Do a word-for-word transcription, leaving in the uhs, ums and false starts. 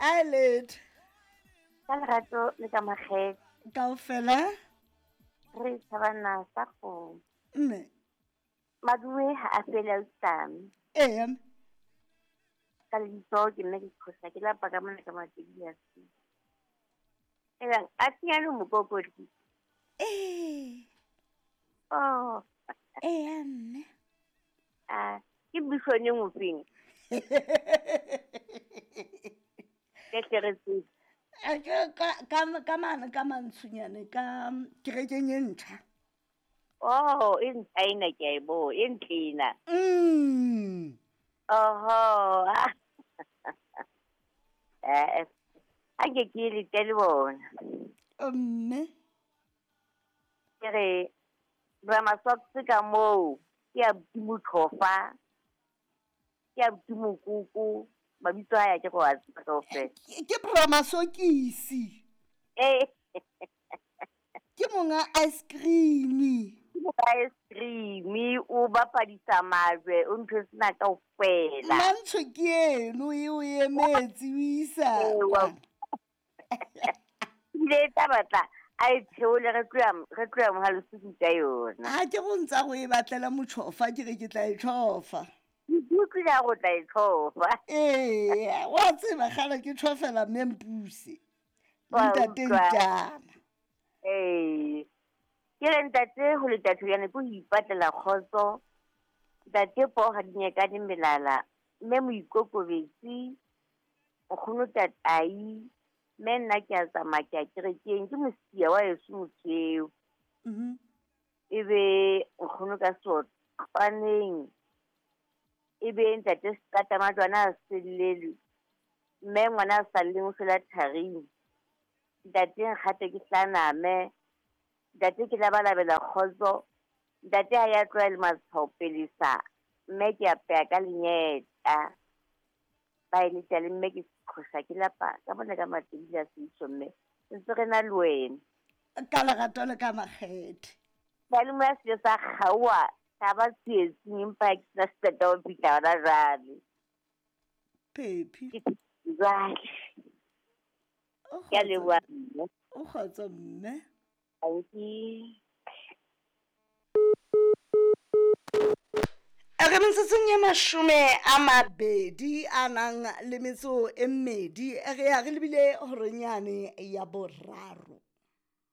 Eyelid. Ka lerato le ka makgethe. Kaofela. Re tshabana sa go. Mme. Madume ha a fele a utlame. Ee. Ka lebitso ke nna ke khosa ke lapa ka mona ka Matedi a se. Elang a tsenya le mokokoti. Ee. Oh. Ee mme. Ah, ke bishone ngofeng. Ke tleretse. Ka ka ka mana ka mantshunyane ka kerekeng e ntjha. Oh, e ntjha ena ke a e bo, e ntle ena. Mm. Oho. Eh, a ke ke le tele bona. Mme. Ke re Ramasokse ka moo ke a Mothofa. Ke a Mokoko. Mabitso a ya ke go a tseba kaofela. Ke Ramasokisi. Eh. Ke monga ice cream. Ke monga ice cream o bapadisa majwe o ntho sena kaofela. Mantsho ke eno e o emetse o isa. Ile tla batla a e theole re tloya re tloya mohalosiki ka yona. Ha ke go ntsa go e batlela mothofa ke re ke tla e thofa. Ke utlwile go tla e thofa. Ee, wa tseba gala ke thofela mme mpuse. Ntate Ntjana. Ee. Ke re ntate ho letatho yana ke ho ipatlela kgotso. Ntate po ha dinyekane melala, mme moikokobetsi, nkgono tatai, mme nna ke a tsamaya ke a kerekeng ke mosia wa heso motho eo. Mhm. Ebe nkgono ka sotlwaneng. Ebe ntate Seqatamadwana a sellelwe, mme ngwana a salleng o fela tharing. Ntate nkgate ke hlaname, ntate ke labalabela kgotso, ntate ha ya tlohela matshwao pelesa, mme ke apeya ka lenyeta. Ba e letsa le mme ke qhosa ke lapa ka bona ka Matedi a seiso mme ntse re na le wena. Ka lerato le ka makgethe. Seyalemoya se ile sa kgaoha sa ba tsietsing empa ke sena se qeta ho fihla hona jwale. Phephi. Jwale. O Ke a kgotso. leboha mme. O kgotso mme. Dankie. Re metsotsong e mashome a mabedi a nang le metso e mmedi re ya re lebile horonyane ya boraro.